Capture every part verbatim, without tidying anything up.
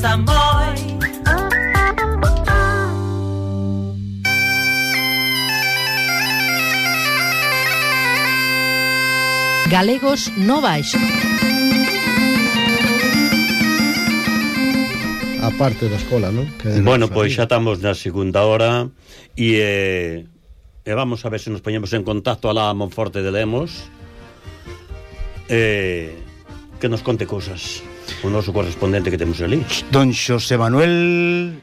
pasa moi. Galegos no baixo. A parte da escola, non? Bueno, pois xa estamos na segunda hora e, eh, e vamos a ver se nos poñemos en contacto alá a Monforte de Lemos, eh, que nos conte cousas o noso correspondente que temos ali, Don Xosé Manuel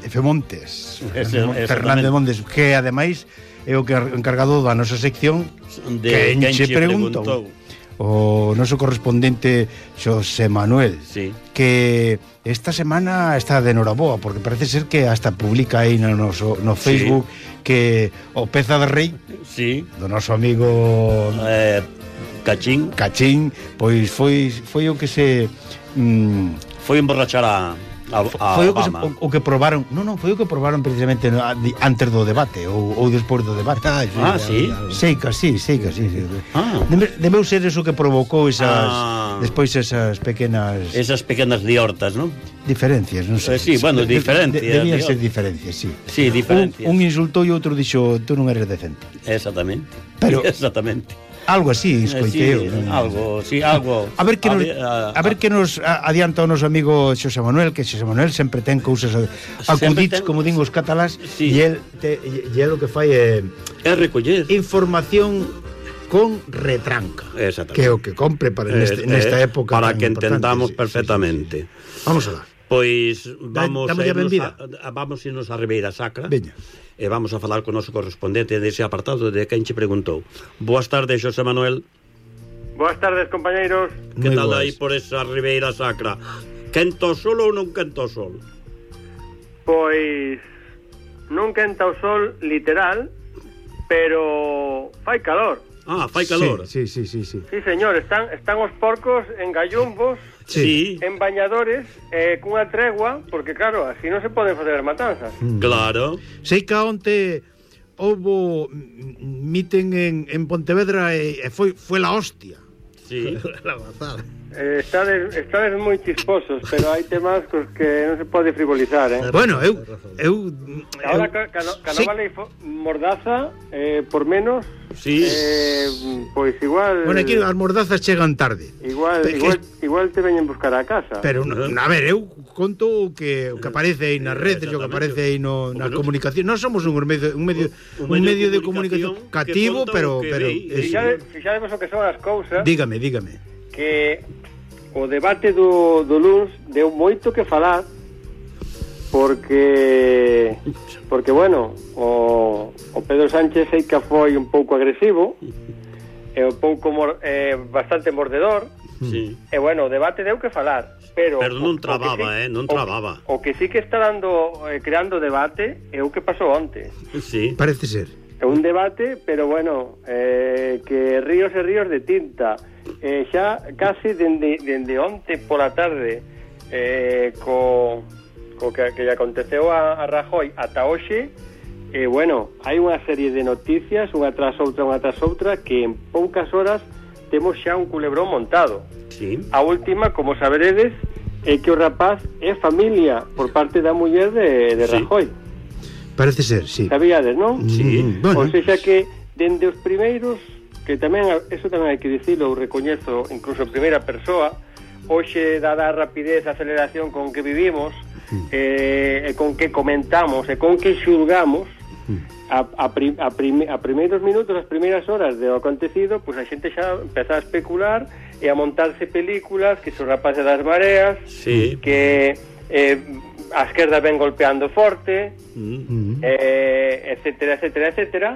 F. Montes, Ese, Fernández Montes, que ademais é o que encargado da nosa sección de Quen che preguntou. preguntou o noso correspondente Xosé Manuel, sí, que esta semana está de noraboa porque parece ser que hasta publica aí no, noso, no Facebook, sí, que o Peza de Rei, sí, do noso amigo eh, Cachín Cachín, pois foi, foi o que se mm, foi emborrachar a A, a foi o que, se, Obama. o, o que probaron non, non, foi o que probaron precisamente no, antes do debate ou, ou despois do debate. Ah, sí? Sei que sí, sei que sí, sí. Ah. Debe, debeu ser eso que provocou esas Ah. despois esas pequenas Esas pequenas liortas, non? diferencias, non sei. Eh, sí, bueno, de, diferencias, de, debían digo. ser diferencias, sí. Sí, diferencias. Un, un insultou e outro dixo, tú non eres decente. Exactamente. Pero- Exactamente. Algo así, escoitei eu. Sí, algo, sí, algo. A ver que nos, a, a ver que nos adianta o noso amigo Xosé Manuel, que Xosé Manuel sempre ten cousas acudits, ten... como din os catalás, sí. e el te, e el o que fai é é recoller información con retranca, exactamente, que é o que compre para neste, eh, nesta época para que importante. entendamos Sí, perfectamente. sí, sí, sí. Vamos a dar. Pois vamos Dame a benvida. a, a, vamos irnos a Ribeira Sacra. Veña. E vamos a falar con o noso correspondente dese apartado de Quen che preguntou. Boas tardes, Xosé Manuel. Boas tardes, compañeiros. Que Moi tal boas. aí por esa Ribeira Sacra? Quento o sol ou non quento o sol? Pois non quenta o sol literal, pero fai calor. Ah, fai calor. Sí, sí, sí, sí. Sí, señor, están están os porcos en gallumbos, Sí, en bañadores, eh, cunha tregua, porque claro, así non se poden facer as matanzas. claro. Sei que onte houbo miten en, en Pontevedra e, e foi, foi la hostia. Sí. La gozada. Eh, estades, estades moi chisposos, pero hai temas cos que non se pode frivolizar, eh? Bueno, eu eu, Ahora, eu ca, ca, ca sí. no vale fo- mordaza, eh, por menos, Sí. eh, pois igual... Bueno, aquí as mordazas chegan tarde. Igual, Pe- igual, que- igual te veñen buscar a casa. Pero, a ver, eu conto o que, o que aparece aí nas redes, o que aparece aí no, na Bueno. comunicación. Non somos un medio, un medio, un medio de comunicación cativo, conta pero... o que pero ve, eso. Fixades, fixademos o que son as cousas, Dígame, dígame. que o debate do, do luns deu moito que falar, porque porque bueno, o, o Pedro Sánchez sei que foi un pouco agresivo e un pouco mor, eh, bastante mordedor, Sí. e bueno, o debate deu que falar, pero Pero non o- o que trababa, sí- eh, non o- trababa. O que sí que está dando eh, creando debate é o que pasou onte. Sí. Parece ser. É un debate, pero bueno, eh, que ríos e ríos de tinta. Eh, xa casi dende, dende onte pola tarde, eh, co, co que, que aconteceu a, a Rajoy ata hoxe, eh, bueno, hai unha serie de noticias, unha tras outra, unha tras outra, que en poucas horas temos xa un culebrón montado. Sí. A última, como saberedes, é que o rapaz é familia por parte da muller de, de Sí. Rajoy. Parece ser, sí. Sabíades, non? Sí. Mm, bueno. O sea que dende os primeiros, que tamén, eso tamén hai que dicilo, eu recoñezo incluso en primeira persoa, hoxe, dada a rapidez, a aceleración con que vivimos, eh, e con que comentamos, e con que xulgamos, a, a, prim, a, prim, a primeiros minutos, as primeiras horas do acontecido, pois pues a xente xa empeza a especular e a montarse películas, que son rapaces das mareas, Sí. que eh, a esquerda ven golpeando forte, Mm. eh, etcétera, etcétera, etcétera,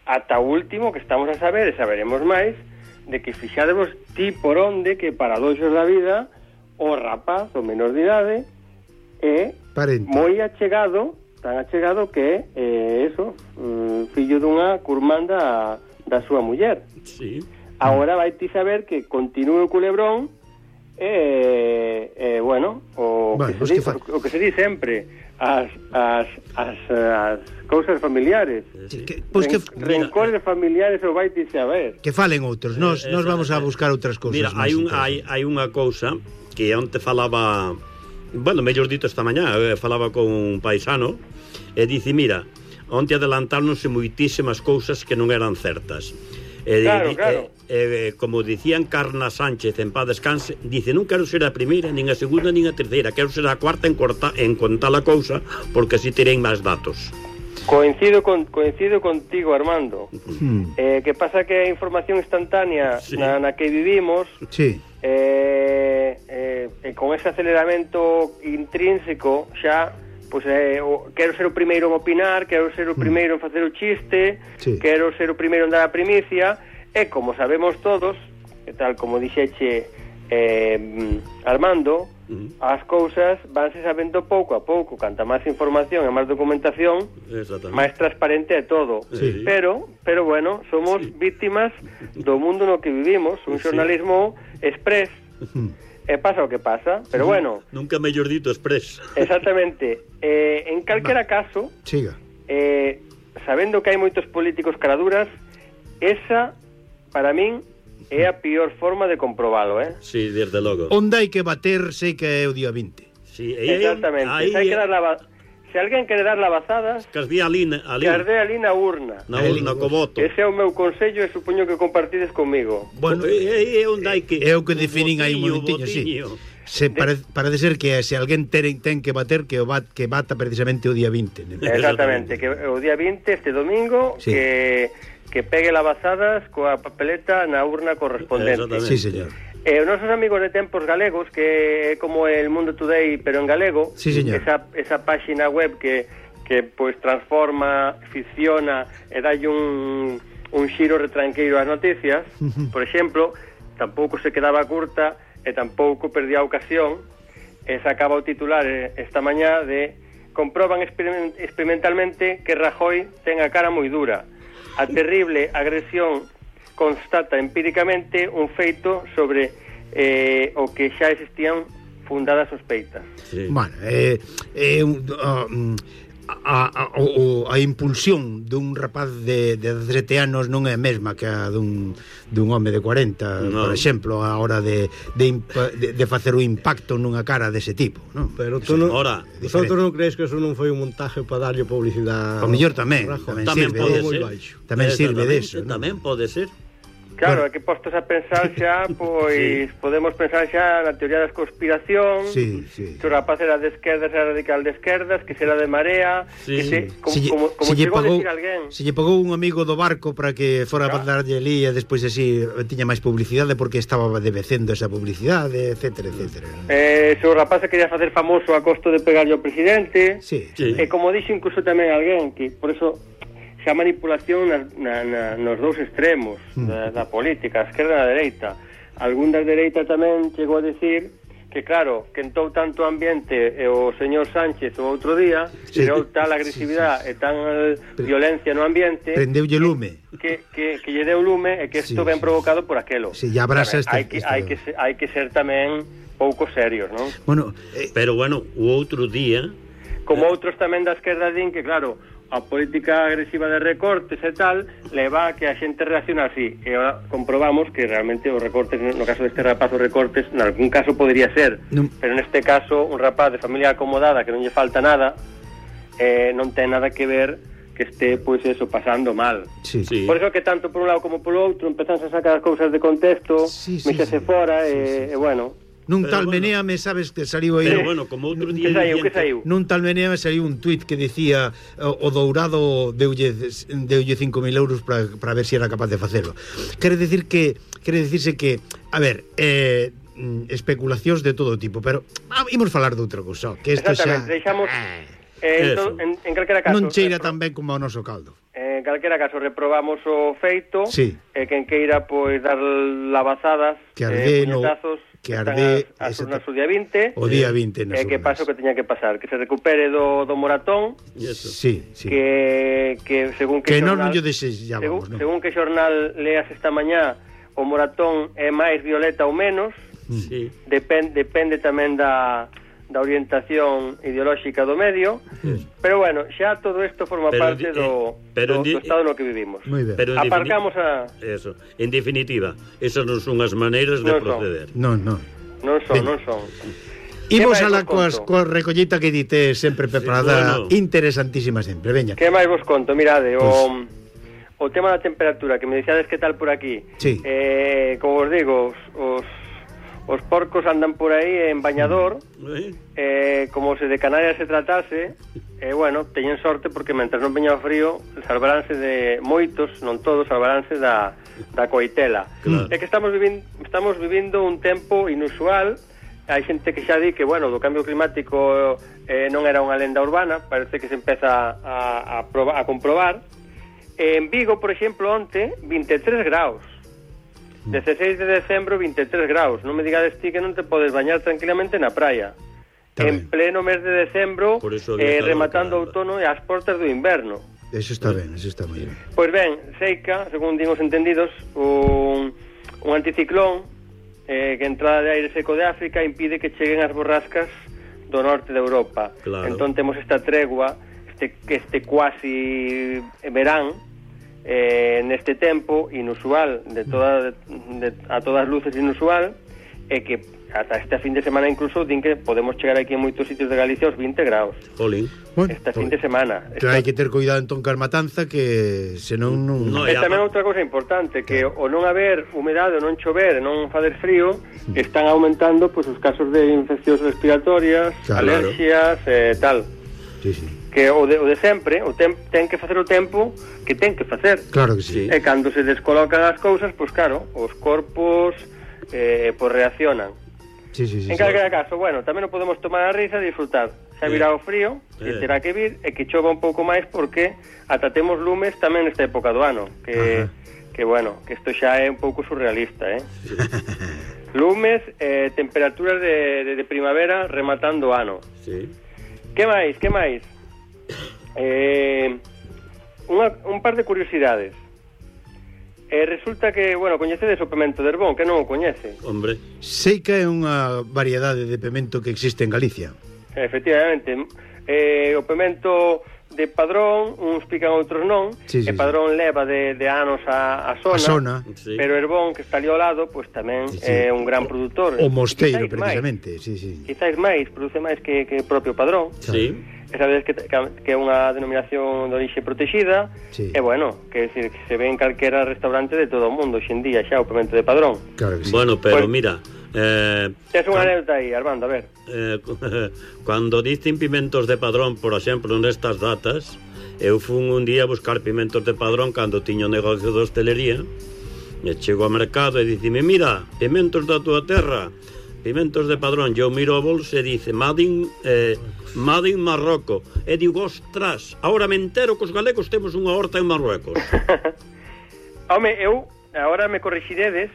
ata o último que estamos a saber, e saberemos máis, de que fixademos ti por onde que paradoxos da vida o rapaz, o menor de idade, é Parente. moi achegado, tan achegado que é eh, eso, um, fillo dunha curmanda da súa muller. Sí. Agora vai ti saber que continúe o culebrón e, eh, bueno, o, Bueno, que pues se di, que fa- o que se di sempre, as, as, as, as cousas familiares. Que, pois que, Ren, rencores familiares o vai ti saber. que falen outros. Nos, nos vamos a buscar outras cousas. Mira, hai, un, hai, hai unha cousa que onte falaba bueno, mellor dito esta mañá, eh, falaba con un paisano e dice, mira, onte adelantáronse moitísimas cousas que non eran certas. E, Claro, e, claro. E, e, como dicían Carna Sánchez en paz descanse, dice, non quero ser a primeira, nin a segunda, nin a terceira, quero ser a cuarta en, corta, en contar a cousa, porque así terei máis datos. Coincido con, coincido contigo, Armando. Hmm. Eh, que pasa que a información instantánea Sí. na, na que vivimos, Sí. eh, eh, e con ese aceleramento intrínseco xa, pois, eh, o, quero ser o primeiro en opinar, quero ser o primeiro en facer o chiste, Sí. quero ser o primeiro en dar a primicia, e como sabemos todos, e tal como dixeche eh, Armando, Uh-huh. as cousas vanse sabendo pouco a pouco, canta máis información e máis documentación, Exactamente. máis transparente é todo. Sí. Pero, pero bueno, somos Sí. víctimas do mundo no que vivimos, un Sí. xornalismo express. E pasa o que pasa, pero bueno, Nunca mellor dito express. exactamente. Eh, en calquera caso, Siga. eh, sabendo que hai moitos políticos caraduras, esa, para min, é a pior forma de comprobalo, eh? Sí, desde logo. Onde hai que bater, sei que é o día vinte. Sí, e aí- Exactamente. aí- Se, hai que dar lava... Se alguén quere dar lavazadas, que as vi ali, ali, que arde ali na urna. na urna co voto. Ese é o meu consello e supoño que compartides comigo. Bueno, E aí é onde hai que... é o que definen aí un botiño, momentiño, sí. botiño. Se pare, parece ser que se alguén ten, ten que bater, que o bat, que bata precisamente o día vinte. ¿no? Exactamente, que o día vinte, este domingo, Sí. que, que pegue lavazadas coa papeleta na urna correspondente. Exactamente. Sí, señor. E os nosos amigos de Tempos Galegos, que é como el Mundo Today, pero en galego, Sí, señor. esa, esa páxina web que, que pois transforma, ficciona e dalle un, un xiro retranqueiro ás noticias, por exemplo, tampouco se quedaba curta e tampouco perdía a ocasión, e sacaba o titular eh, esta mañá de comproban experiment- experimentalmente que Rajoy ten a cara moi dura. A terrible agresión constata empíricamente un feito sobre eh, o que xa existían fundadas sospeitas. Sí. Bueno, é, é un, a, a, a, o, a impulsión dun rapaz de, de dezasete anos non é a mesma que a dun, dun home de cuarenta, No. por exemplo, a hora de, de, impa, de, de facer o impacto nunha cara dese tipo, non? Pero tú non, Ahora, vosotros non crees que eso non foi un montaje para darlle publicidade? O mellor tamén, Rajoy? tamén Tamén sirve pode de- moi ser. baixo. tamén sirve Exactamente, deso, non? Tamén pode ser. Claro, Bueno. é que postos a pensar xa, pois podemos pensar xa na teoría da conspiración, Sí, sí. que o rapaz era de esquerdas, era radical de esquerdas, que será de marea, Sí. que se, como, Se lle- como, como se lle chegou a pagou- decir alguén. Se lle pagou un amigo do barco para que fora Claro. para darlle ali e despois así tiña máis publicidade porque estaba debecendo esa publicidade, etcétera, etcétera. Eh, se o rapaz se quería facer famoso a costo de pegarlle ao presidente, Sí, Sí. e como dixo incluso tamén alguén, que por eso xa manipulación na, na, na, nos dous extremos da, da política, a esquerda e a dereita. Algún da dereita tamén chegou a decir que claro, que entou tanto ambiente e o señor Sánchez o outro día Sí. tirou tal agresividade e tal violencia no ambiente prendeulle lume. que, que, que lle deu lume e que isto Sí, ben sí. provocado por aquelo. Sí, ya abrasa Sabe, este- hai que, este- hai que ser, hai que ser tamén pouco serios, non? Bueno, eh, Pero bueno, o outro día... Como outros tamén da esquerda din que, claro, a política agresiva de recortes e tal leva a que a xente reacciona así. E ahora comprobamos que realmente os recortes, no caso deste rapaz, os recortes, en algún caso podría ser, Non. pero neste caso, un rapaz de familia acomodada que non lle falta nada, eh, non ten nada que ver que este, pois eso, pasando mal. sí. Sí. Por iso que tanto por un lado como polo outro empezan a sacar as cousas de contexto, Sí, sí, mexase sí. fora, Sí, e, sí, e bueno... Nun Pero tal bueno. meneame, sabes que saliu aí. Pero bueno, como outro día... Que saiu, dicían que saiu? Nun tal meneame saliu un tuit que decía o, o Dourado deulle, deulle cinco mil euros para para ver se si era capaz de facelo. Quere decir que quere decirse que, a ver, eh, mm, especulacións de todo tipo, pero ah, imos falar de outra cousa, que isto xa Exactamente, deixamos... Ah, Eh, Eso. en, en, en calquera caso... non cheira repro- tan ben como o noso caldo. En calquera caso reprobamos o feito, Sí. e quen queira pois dar lavazadas, Que arde eh, no- puñetazos, que están arde as, as ese urnas ta- o día vinte, O día vinte nas e que urnas. pase o que teña que pasar, que se recupere do, do moratón, Y eso. Sí, sí. que, que según que, Que non xornal, non lle desexamos, según, non? según que xornal leas esta mañá, o moratón é máis violeta ou menos, Sí. depende, depende tamén da, da orientación ideolóxica do medio, pero bueno, xa todo isto forma Pero parte di- do, eh, pero do, di- do estado no que vivimos. Moi ben. Pero en Aparcamos defini- a... Eso. En definitiva, esas non son as maneiras de Non son. proceder. Non, non. Non son, Venga. non son. Imos máis a la vos coas, conto? coa recollita que dite sempre preparada, bueno. interesantísima sempre, veña. Que máis vos conto? Mirade, Pois. o, o tema da temperatura, que me dixades que tal por aquí. Sí. Eh, como vos digo, os, os, os porcos andan por aí en bañador, Eh? eh, como se de Canarias se tratase, e eh, bueno, teñen sorte porque mentre non veña o frío, salvaránse de moitos, non todos, salvaránse da, da coitela. Claro. É que estamos vivindo, estamos vivindo un tempo inusual. Hai xente que xa di que, bueno, do cambio climático eh, non era unha lenda urbana, parece que se empeza a, a, proba, a comprobar. En Vigo, por exemplo, onte, vinte e tres graus. dezasseis de decembro, vinte e tres graus. Non me digades ti que non te podes bañar tranquilamente na praia. Está En ben. pleno mes de decembro, Por iso había eh, calor, rematando o caramba. outono e ás portas do inverno. Eso está ben, eso está moi ben. Pois ben, Seica, según din os entendidos, un, un anticiclón eh, que a entrada de aire seco de África impide que cheguen as borrascas do norte de Europa. Claro. Entón temos esta tregua, este, este cuasi verán, eh, neste tempo inusual, de toda, de, a todas luces inusual, e que ata este fin de semana incluso din que podemos chegar aquí en moitos sitios de Galicia aos vinte graus. Jolín. Bueno, Este fin de semana. Pero hai que ter cuidado entón car matanza que senón non... No, E e tamén apa- outra cousa importante, que o non haber humedade, o non chover, e non fazer frío, están aumentando pois os casos de infeccións respiratorias, Claro. alerxias e eh, tal. Sí, sí. Que o de, o de sempre, o tem, ten que facer o tempo que ten que facer. Claro que sí. Sí. E cando se descolocan as cousas, pois claro, os corpos eh, pois reaccionan. Sí, sí, sí. En sí. calquera caso, bueno, tamén o podemos tomar a risa e disfrutar. Xa virá o frío, que Eh. terá que vir, e que chova un pouco máis porque ata temos lumes tamén nesta época do ano, que, Ajá. que bueno, que isto xa é un pouco surrealista, eh? Lumes, eh, temperaturas de, de, de primavera rematando o ano. Sí. Que máis, que máis? Eh, unha, un par de curiosidades. Eh, resulta que, bueno, coñecedes o pemento de Herbón, que non o coñece. Hombre. Seica é unha variedade de pemento que existe en Galicia. Efectivamente, eh, o pemento de Padrón, uns pican outros non, Sí, sí, e Padrón sí. leva de, de anos a, a zona, A zona. Sí. pero Herbón, que está ali ao lado, pois tamén Sí, sí. é un gran produtor. O mosteiro, Quizáis precisamente. Sí, sí. Máis, quizáis máis, produce máis que, que o propio Padrón. Sí. E sabedes que, que, que é unha denominación de orixe protexida, Sí. e bueno, que, decir, que se ve en calquera restaurante de todo o mundo hoxendía xa o pemento de Padrón. Claro que sí. Bueno, pero Pues- mira, eh, Tes unha cuan- anécdota aí, Armando, a ver. eh, cando dicen pimentos de Padrón, por exemplo, nestas datas, eu fun un día a buscar pimentos de Padrón cando tiño negocio de hostelería, e chego ao mercado e dicime, mira, pimentos da tua terra, pimentos de Padrón. Eu miro a bolsa e dice Madin, eh, Madin Marroco, e digo, ostras, ahora me entero que os galegos temos unha horta en Marruecos. Home, eu, agora me corrixiredes,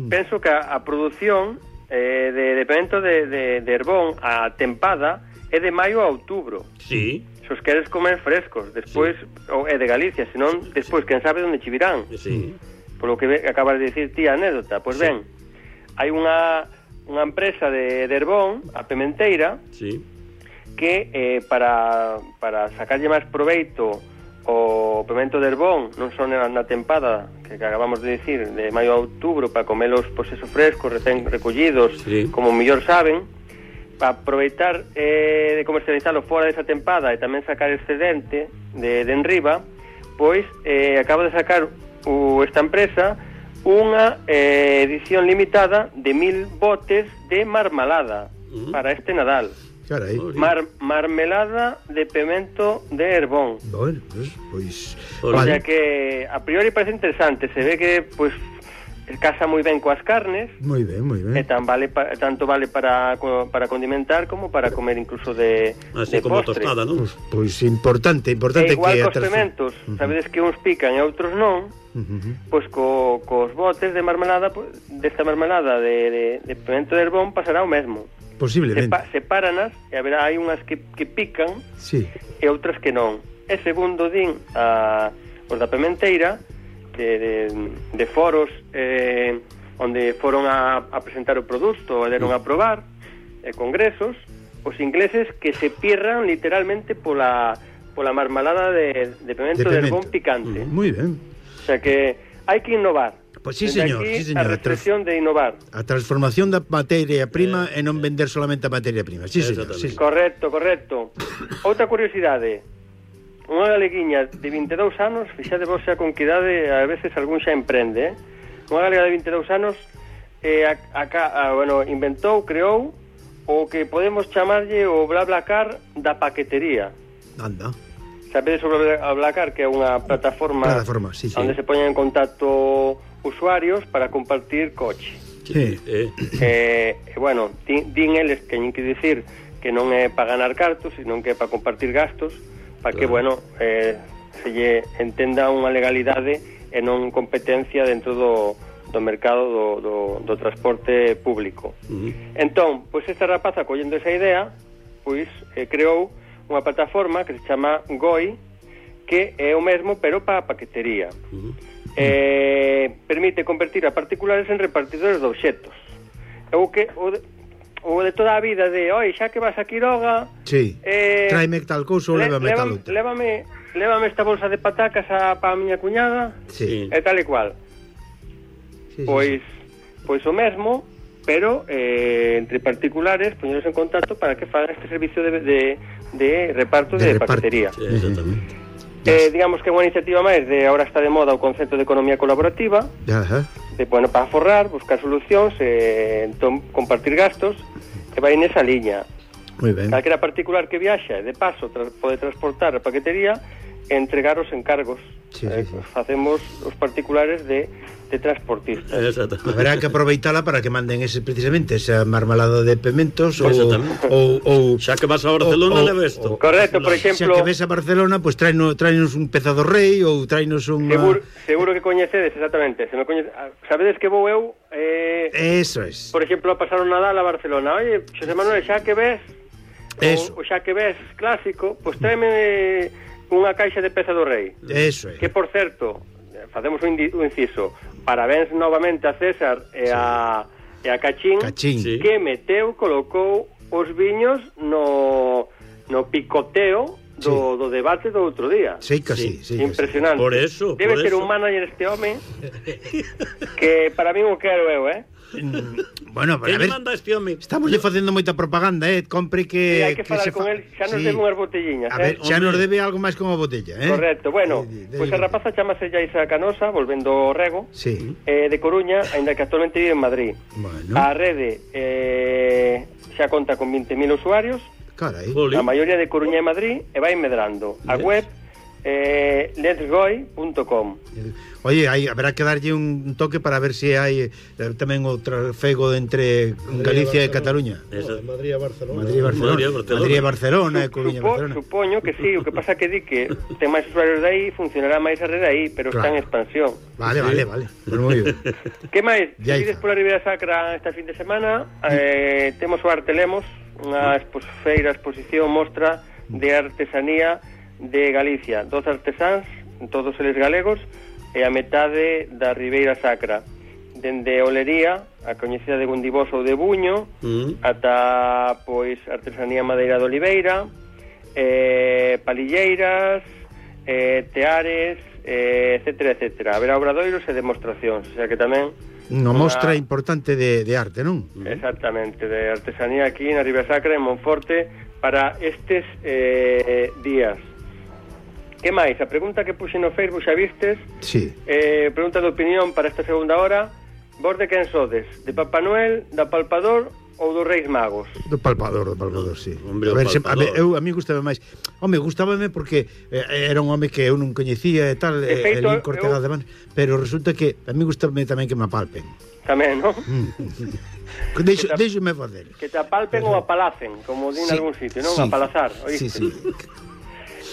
penso que a, a produción eh, de, de pemento de, de, de Herbón, a tempada, é de maio a outubro. Sí, Se os queres comer frescos, despois, sí. ou é de Galicia, senón, despois, quen sabe onde che virán. sí. Por lo que ve, acabas de dicir ti a anécdota. Pois Sí. ben, hai unha, unha empresa de, de Herbón, a Pementeira, Sí. que eh, para, para sacarlle máis proveito o pemento de Herbón, non só na, na tempada que acabamos de dicir, de maio a outubro, para comelos pois eso frescos, recén recollidos, Sí. como mellor saben, para aproveitar eh, de comercializalo fora desa tempada e tamén sacar excedente de, de enriba, pois eh, acaba de sacar o, esta empresa unha eh, edición limitada de mil botes de marmalada Mm. para este Nadal. Carai. Mar, marmelada de pemento de Herbón. Bueno, pues, pois... Pois O vale. sea que a priori parece interesante, se ve que pues casa moi ben coas carnes, Moi ben, moi e ben. tan vale pa, tanto vale para co- para condimentar como para comer incluso de Así de como postre. tostada, non? Pois, pois importante, E importante igual que... cos aterce- pementos, Ujú. sabedes que uns pican e outros non, Ujú, ujú. pois co, cos botes de marmelada, pues, desta marmelada de, de, de pemento de Herbón pasará o mesmo. Posiblemente. Sepa, sepáranas e haberá hai unhas que, que pican Sí. e outras que non. E segundo din a, os da Pementeira, de, de, de foros eh, onde foron a, a presentar o produto e deron a probar, e congresos, os ingleses que se pirran literalmente pola, pola marmelada de, de pemento de, De pemento. Herbón picante. Moi ben. O sea que hai que innovar. Pois sí, Dende señor, aquí, sí, señor. a reflexión de innovar. A transformación da materia prima eh, e non vender solamente a materia prima. Sí, señor. Sí, sí. Correcto, correcto. Outra curiosidade. Unha galeguiña de vinte e dous anos, fixade vos xa con que idade a veces algún xa emprende, eh? Unha galega de vinte e dous anos eh, a, a, a, bueno, inventou, creou o que podemos chamarlle o BlaBlaCar da paquetería. Anda. Sabedes sobre a BlaBlaCar, que é unha plataforma, plataforma sí, sí. onde se poñen en contacto usuarios para compartir coche. Sí. Eh. Eh, e, bueno, din, din eles que teñen que dicir que non é para ganar cartos, sino que é para compartir gastos, para que, Claro. bueno, eh, se lle entenda unha legalidade e non competencia dentro do, do mercado do, do, do transporte público. Uh-huh. Entón, pois esta rapaza, collendo esa idea, pois eh, creou unha plataforma que se chama Goi, que é o mesmo, pero para a paquetería. Uh-huh. Eh, permite convertir a particulares en repartidores de obxetos. É o que... O de, o de toda a vida de, oi, xa que vas a Quiroga, Sí. eh, Tráeme tal cousa ou le- lévame tal lévame, outra. lévame, lévame esta bolsa de patacas a, para a miña cuñada, Sí. e tal e cual. Sí, sí, Pois, pois o mesmo, pero eh, entre particulares, poñeros en contacto para que fagan este servicio de, de, de reparto de, De reparto. paquetería. Sí, exactamente. Eh, digamos que é unha iniciativa máis de, ahora está de moda o concepto de economía colaborativa, sí. Ajá. de, bueno, para forrar, buscar solucións, eh, entón, compartir gastos, que vai nesa liña. Moi ben. Calquera particular que viaxa e de paso tra pode transportar a paquetería e entregar os encargos. Sí, eh, sí, sí. Facemos os particulares de, de transportistas. Exactamente. Haberá que aproveitala para que manden ese precisamente esa marmelada de pementos ou Exactamente. ou ou Xa que vas a Barcelona, o- o- leva isto. o- Correcto, por Xa exemplo, que ves a Barcelona, pois pues, tráenos, tráenos un peza do rei ou tráenos un seguro, seguro que coñecedes, exactamente. Se me coñece, sabedes que vou eu, eh, Eso es. por exemplo, a pasar o Nadal a Barcelona. Oye, Xosé Manuel, xa que ves, Eso. o, o xa que ves clásico, pois tráeme unha caixa de peza do rei. Eso é. Que, por certo, facemos un, indi- un inciso, parabéns novamente a César e a, e a Cachín, Cachín. Sí. que meteu, colocou os viños no, no picoteo do, do debate do outro día. Sí, que sí, sí, que sí. Impresionante. Por eso, Debe por ser eso. un manager este home que para mí o quero eu, eh? Mm, Bueno, Que a lle ver, manda este home? estamos lle facendo moita propaganda, eh, compre que E hai que falar se con fa- el, xa nos Sí. debe unhas botelliñas, A eh? ver, xa Hombre. nos debe algo máis que unha botella, eh? Correcto, bueno, De- de- pois de- a rapaza chamase Yaisa Canosa, volvendo ao rego, Sí. eh, de Coruña, aínda que actualmente vive en Madrid. Bueno, A rede eh, xa conta con vinte mil usuarios, carai. Jolín. a maioría de Coruña e Madrid, e vai medrando. A Yes. web eh, letsgoi punto com. Oye, hai, haberá que darlle un toque para ver se hai eh, tamén outro fego entre Galicia e Cataluña. Esa- De Madrid a Barcelona. Madrid e Barcelona. Madrid e Barcelona. Madrid e Barcelona, e Supo, Coruña e Barcelona. supoño que sí, o que pasa que di que ten máis usuarios de aí, funcionará máis a rede aí, pero está Claro. en expansión. Vale, vale, vale. Pues moi ben. Que máis? Ya Se ides está. pola Ribeira Sacra esta fin de semana, eh, temos o Arte Lemos, unha expos, feira, exposición, mostra de artesanía de Galicia. Doce artesáns, todos eles galegos, e a metade da Ribeira Sacra. Dende Olería, a coñecida de Gundibós ou de Buño, Mm. ata, pois, artesanía madeira de Oliveira, eh, palilleiras, eh, teares, eh, etcétera, etcétera. Haberá obradoiros e demostracións, o sea que tamén Unha mostra Unha- importante de, de arte, non? exactamente, de artesanía aquí na Ribeira Sacra, en Monforte, para estes eh, días. Que máis? A pregunta que puxe no Facebook, xa vistes, Sí. eh, pregunta de opinión para esta segunda hora. Vos de quen sodes? De Papá Noel, da Palpador ou dos Reis Magos? Do palpador, do palpador, sí. Hombre, a o ver, se, a, palpador. ver, eu, a mí gustaba máis. Home, gustábame porque eh, era un home que eu non coñecía e tal, De e feito, el cortega eu- de man, pero resulta que a mí gustame tamén que me apalpen. Tamén, non? Deixo, Que ta- deixome facer. Que te apalpen ou apalacen, como din en Sí, algún sitio, non? sí. Apalazar, Sí, oíste? sí.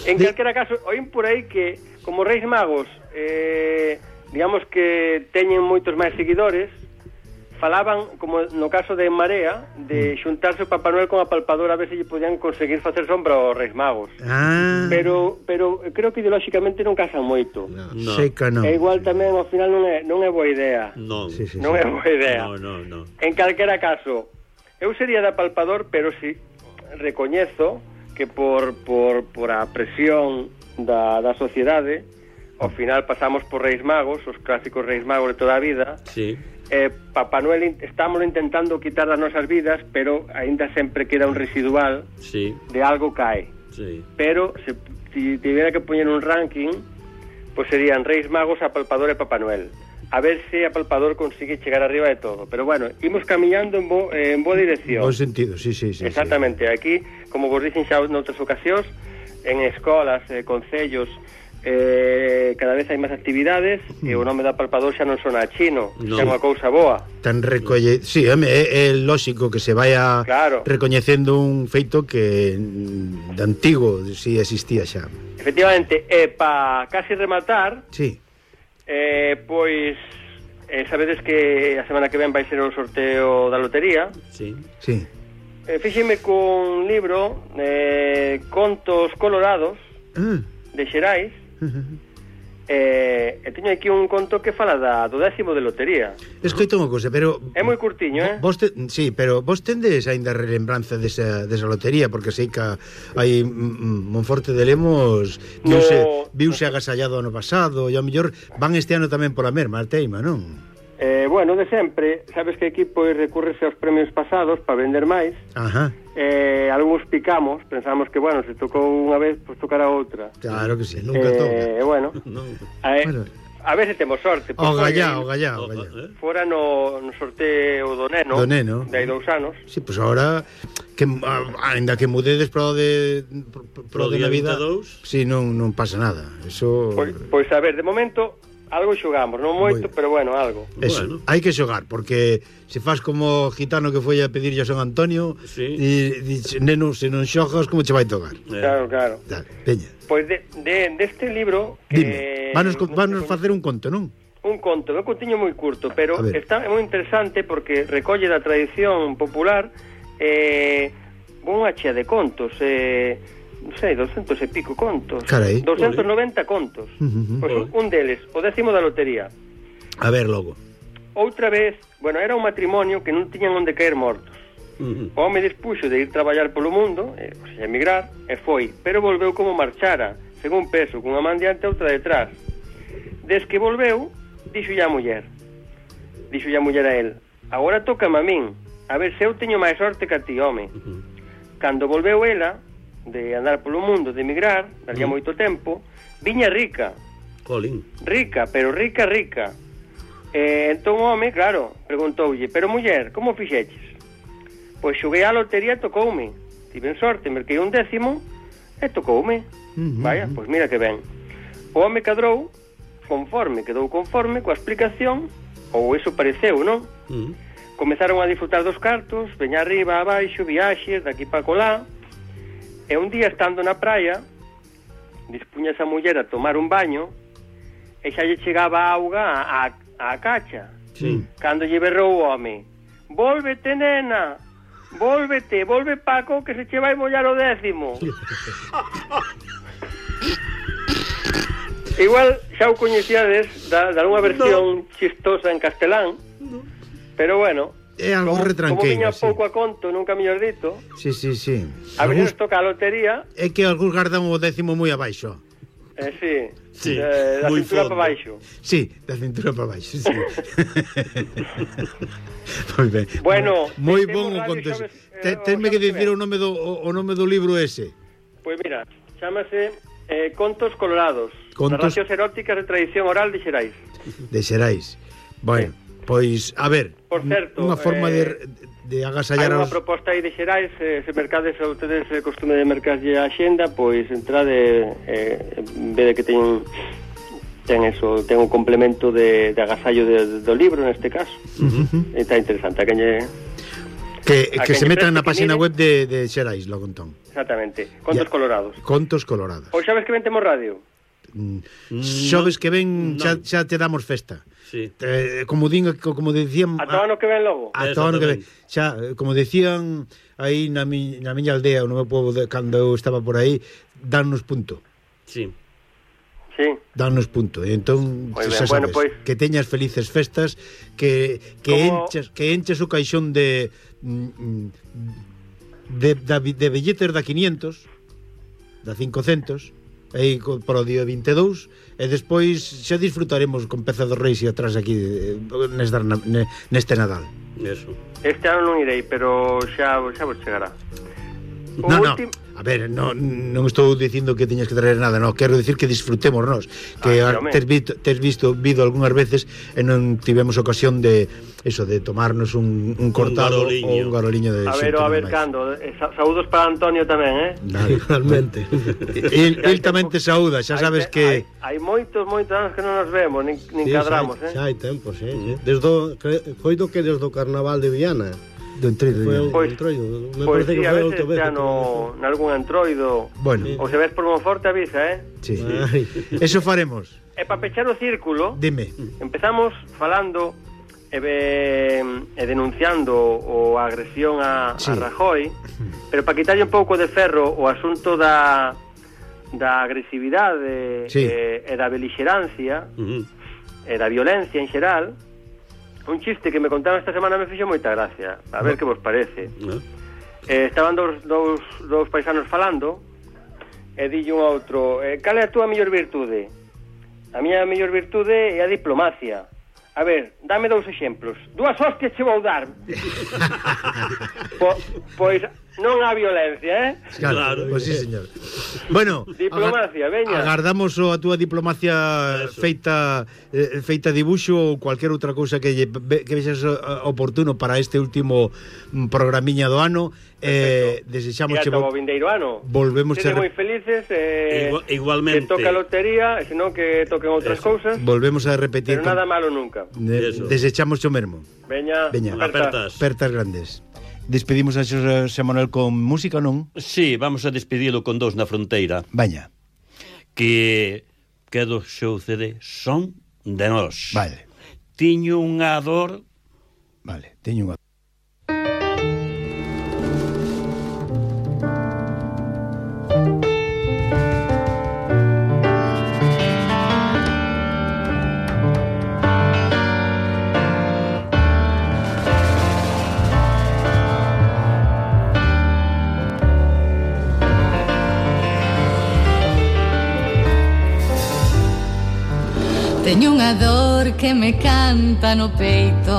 En De- calquera caso, oín por aí que como Reis Magos, eh, digamos que teñen moitos máis seguidores, falaban, como no caso de Marea, de xuntarse o Papá Noel con a palpadora a ver se lle podían conseguir facer sombra aos Reis Magos. Ah, Pero pero creo que ideolóxicamente non casan moito. No. sei que non. E igual tamén ao final non é non é boa idea. Non. Sí, sí, Non sí. é boa idea. No, no, no. En calquera caso, eu sería da palpador, pero si recoñezo que por, por, por a presión da, da sociedade, ao final pasamos por Reis Magos, os clásicos Reis Magos de toda a vida. Sí. Eh, Papá Noel estamos intentando quitar das nosas vidas, pero aínda sempre queda un residual Sí. de algo cae. Sí. Pero se si tiviera que poñer un ranking, pois serían Reis Magos, Apalpador e Papá Noel. A ver se Apalpador consigue chegar arriba de todo. Pero bueno, imos camiñando en, bo, eh, en boa dirección. Bo sentido, sí, sí, sí. Exactamente, sí. Aquí, como vos dicen xa noutras ocasións, en escolas, eh, concellos, eh, cada vez hai máis actividades mm. e o nome da Apalpador xa non sona a chino, no. xa é unha cousa boa. Tan recolle... Sí, é, é lógico que se vaya claro. recoñecendo un feito que de antigo si existía xa. Efectivamente, e pa casi rematar... Sí. Eh, pois eh, sabedes que a semana que ven vai ser o sorteo da lotería. Sí. Sí. Eh, fíxeme cun libro eh, Contos Colorados Ah. de Xerais. Uh-huh. Eh, e teño aquí un conto que fala da, do décimo de lotería. Escoito unha cousa, pero... É moi curtiño, eh? Vos te, sí, pero vos tendes aínda relembranza desa, desa lotería, porque sei que hai Monforte de Lemos viuse, No. viuse agasallado ano pasado, e ao mellor van este ano tamén pola merma, a teima, non? Eh, bueno, de sempre, sabes que aquí pois recurrese aos premios pasados para vender máis. Ajá. Eh, algúns picamos, pensamos que, bueno, se tocou unha vez, pois tocará outra. Claro que sí, nunca eh, toca. E, bueno, Non. eh, Bueno. a ver se temos sorte. O foi- gallá, o gallá, o O- gallá. eh? Fora no, no sorteo do neno, Do neno. de hai dous anos. Sí, pois pues agora que ah, ainda que mudedes pro de pro, pro Pro de día Navidad. vinte e dous. Sí, non non pasa nada. Eso Pois, pois a ver, de momento algo xogamos, non moito, Moi- pero bueno, algo. Eso, Bueno. hai que xogar, porque se faz como gitano que foi a pedirlle a San Antonio, Sí. e dice, neno, se non xogas, como che vai tocar? Eh. Claro, claro. Dale, peña. Pois de, de, deste libro que... Dime, vanos, vanos facer un conto, non? Un conto, é un contiño moi curto, pero A ver. está moi interesante porque recolle da tradición popular eh, unha chea de contos, eh, non sei, doscientos e pico contos. Carai. doscientos noventa contos. Uh -huh. Pois un, un deles, o décimo da lotería. A ver, logo. Outra vez, bueno, era un matrimonio que non tiñan onde caer mortos. Ujú. O home dispuxo de ir traballar polo mundo, eh, o sea, emigrar, e foi, pero volveu como marchara, según peso, cunha man diante e outra detrás. Des que volveu, dixo a muller, dixo a muller a él, agora tócame a min, a ver se eu teño máis sorte que a ti, home. Ujú. Cando volveu ela, de andar polo mundo, de emigrar, daría Mm. moito tempo, viña rica, Jolín. rica, pero rica, rica. E entón o home, claro, preguntoulle, pero muller, como fixeches? Pois xoguei a lotería e tocoume. Tiven sorte, merquei un décimo e tocoume. Uh-huh. Vaya, pois mira que ben. O home cadrou conforme, quedou conforme coa explicación, ou iso pareceu, non? Ujú. Comezaron a disfrutar dos cartos, veña arriba, abaixo, viaxes, daqui para colá. E un día, estando na praia, dispuña esa muller a tomar un baño e xa lle chegaba a auga á, á cacha. Sí. Cando lle berrou o home, volvete, nena, volvete, volve, Paco, que se che vai mollar o décimo. Igual xa o coñecíades da, da unha versión no. chistosa en castelán, no. Pero bueno, É algo como, como retranqueiro, viña sí. pouco a conto, nunca mellor dito, Sí, sí, sí. a ver Algúns- nos toca a lotería, É que algúns gardan o décimo moi abaixo. eh, sí, Sí, eh, da moi cintura fondo. para baixo. Sí, da cintura para baixo, sí. Moi ben. Bueno, moi temos bon o radio, conto ese. sabes, eh, Te- o Tenme que sabes que dicir ven. o nome do o, o nome do libro ese. Pois mira, chámase eh, Contos Colorados, Contos- narracións eróticas de tradición oral de Xerais. De Xerais. Bueno, pois a ver, Por certo, unha forma eh, de de Hai agasallar unha aos proposta aí de Xerais, eh, se mercades ou tedes eh, costume de mercarlle a xenda, pois entrade, eh, en vez de que teñen ten eso, ten un complemento de, de agasallo de, do libro neste caso. Uh -huh. Está interesante, a quen lle... que, a que quen se lle metan preste na que página mire. web de, de Xerais, logo entón. Exactamente, Contos Ya. Colorados. Contos Colorados. Ou sabes que ven temos radio? Mm. No, Xoves que ven no. xa, xa te damos festa. Sí. Eh, como din, como decían A todo ano que ven logo? a todo ano que ven. Exactamente. Xa, eh, como decían aí na, mi, na miña aldea, no meu povo de, cando eu estaba por aí, dannos punto. Sí. Sí. Dannos punto. E entón, Moi ben, xa bueno, sabes, pois- que teñas felices festas, que que Como- enches, que enches o caixón de mm, de, de, de billetes da quinientos, da cincocentos, aí para o día vinte e dous, e despois xa disfrutaremos con Peza dos Reis e atrás aquí neste, neste Nadal. Eso. Este ano non irei, pero xa, xa vos chegará. O No, no, último... a ver, no, non estou dicindo que teñas que traer nada, no, quero dicir que disfrutemos nós, que Ah, ah, tes, visto, tes visto vido algunhas veces e non tivemos ocasión de eso, de tomarnos un, un cortado garoliño. ou un garoliño de A ver, xente a ver, máis. cando eh, sa Saúdos para Antonio tamén, eh? Dale. Igualmente. El, el tamén te saúda, xa sabes Hai- que Hai, hai moitos, moitos anos que non nos vemos, nin, nin Sí, cadramos, xa, eh? xa hai tempo, sí, sí. Desde o, cre, coido que desde o Carnaval de Viana. do entroido. Foi un Pois- entroido. Me Pois parece sí, que a foi a veces outra vez. xa que no, nalgún antroido. Bueno, Ou se ves por Monforte avisa, eh? sí. Ai. Eso faremos. E para pechar o círculo, Dime. empezamos falando e, e, e denunciando o a agresión a, Sí. a Rajoy, pero para quitarlle un pouco de ferro o asunto da da agresividade Sí. e, e da belixerancia Uh-huh. e da violencia en xeral. Un chiste que me contaron esta semana me fixo moita gracia. A ver que vos parece. ¿No? Eh, estaban dous, dous, dous paisanos falando e dille un a outro, eh, cal é a túa mellor virtude? A miña mellor virtude é a diplomacia. A ver, dame dous exemplos. Dúas hostias che vou dar. po, pois non a violencia, eh? Claro, Claro. pois sí, señor. Bueno, Diplomacia, agar- veña. agardamos o a túa diplomacia Eso. feita eh, feita dibuxo ou cualquier outra cousa que lle, ve- que vexas eh, oportuno para este último mm, programiña do ano. Eh, desexamos E che ata vo- o vindeiro ano. volvemos Sede a re- moi felices eh, Igua- igualmente. que toque a lotería, e senón que toquen outras Eso. cousas, volvemos a repetir pero nada malo nunca. de, Eso. desechamos o mesmo. Veña, Veña. aperta. Apertas. Pertas grandes. Despedimos a Xosé Manuel con música, non? Sí, vamos a despedilo con dous na fronteira. Vaña. Que que do seu C D son de nós. Vale. Tiño unha dor. Vale, teño unha. Teño unha dor que me canta no peito,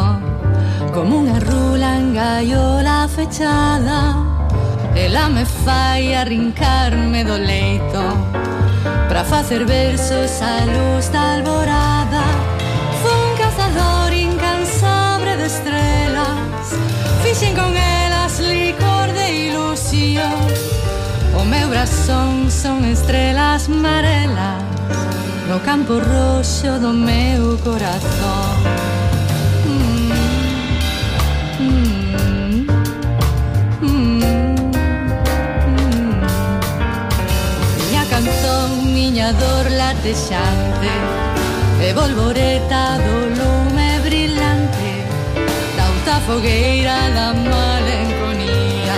como unha rula en gaiola fechada. Ela me fai arrincarme do leito pra facer versos á luz da alborada. Fun cazador incansable de estrelas, fixen con elas licor de ilusión. O meu brazón son estrelas marelas no campo roxo do meu corazón. Mm, mm, mm, mm. Miña canción, miña dor latexante e volvoreta do lume brillante da outra fogueira da malenconía,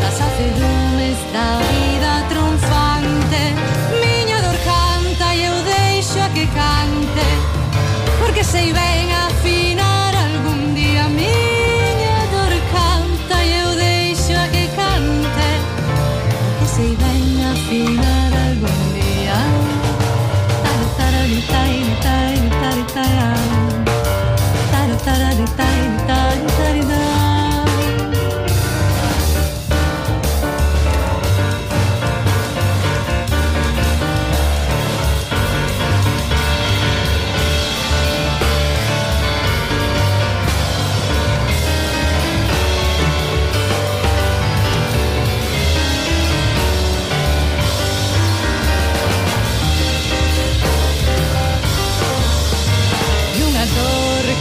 das acedumes da vida triunfante. Miña dor canta e eu deixo a que cante, porque sei ben afinar algún día. Miña dor canta e eu deixo a que cante, porque sei ben afinar algún día. Taro tarari tai tai tai tai, taro tarari tai tai tai tai.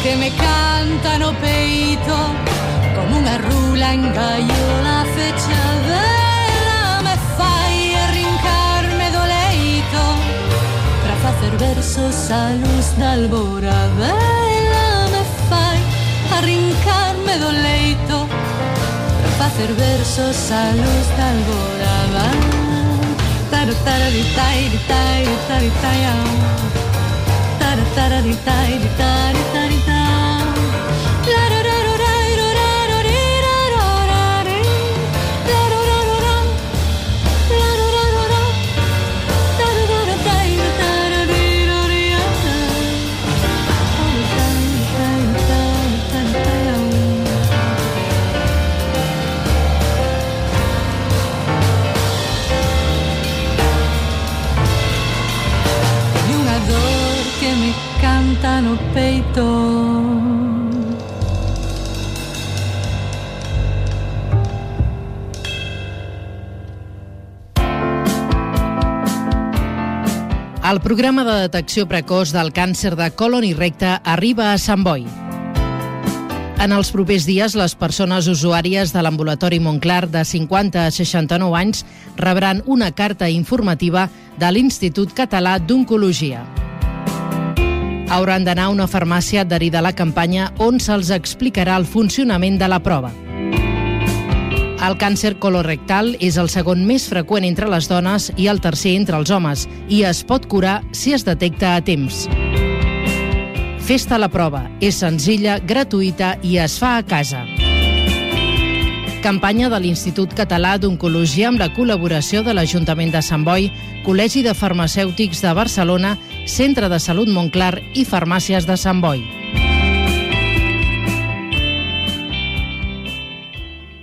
Que me canta no peito como unha rula en gaiola fechada. Ela me fai arrincarme do leito pra facer versos á luz da alborada. Ela me fai arrincarme do leito pra facer versos á luz da alborada. Taro tarari tai tai tai tai. Tara tara di tai di tari tari ta. La ra ra ra ra ra ra ra ra ra. La ra ra ra ra. La ra ra ra ra. El programa de detecció precoç del càncer de colon i recte arriba a Sant Boi. En els propers dies, les persones usuàries de l'ambulatori Montclar de cinquanta a seixanta-nou anys rebran una carta informativa de l'Institut Català d'Oncologia. Hauran d'anar a una farmàcia adherida a la campanya on se'ls explicarà el funcionament de la prova. El càncer colorectal és el segon més freqüent entre les dones i el tercer entre els homes i es pot curar si es detecta a temps. Fes-te la prova. És senzilla, gratuïta i es fa a casa. Campanya de l'Institut Català d'Oncologia amb la col·laboració de l'Ajuntament de Sant Boi, Col·legi de Farmacèutics de Barcelona, Centre de Salut Montclar i Farmàcies de Sant Boi.